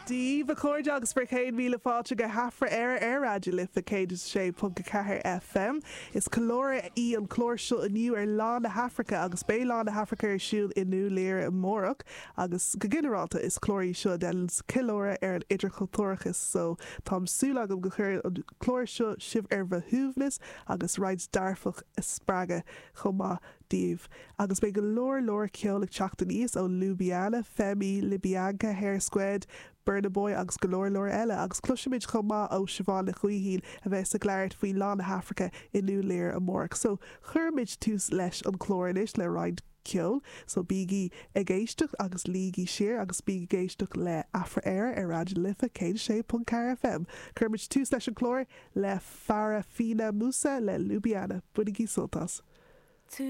daoibh, a chairde, agus bhur chéad míle fáilte go hAfra Éire ar Raidió Life 106.4 FM. Is ceiliúradh í an clár seo inniu ar Lá na hAfraice agus beidh Lá na hAfraice ar siúl i nDún Laoghaire amárach agus go ginearálta is clár í seo a dhéanann ceiliúradh ar an idirchultúrachas so tá súil agam go gcuireann an clár seo sibh ar bhur shuaimhneas agus roinnt dearfach a spreagadh chomh maith daoibh. Agus beidh go leor leor ceoil ag teacht aníos ó Lubiana, Femi, Libianca, Hare Squead, Burna Boy agus go leor leor eile. Agus cloisfimid chomh maith ó Siobhán Nic Gaoithín a bheas ag labhairt faoi Lá na hAfraice i nDún Laoghaire amárach. So, cuirfimid tús leis an chlár anois le roinnt ceoil. So bígí ag éisteacht agus luígí siar agus bígí ag éisteacht le Afra Éire ar Raidió na Life 106.4 FM. Cuirfimid tús leis an chlár le Farafina Musa le Lubiana. Bainigí sult as.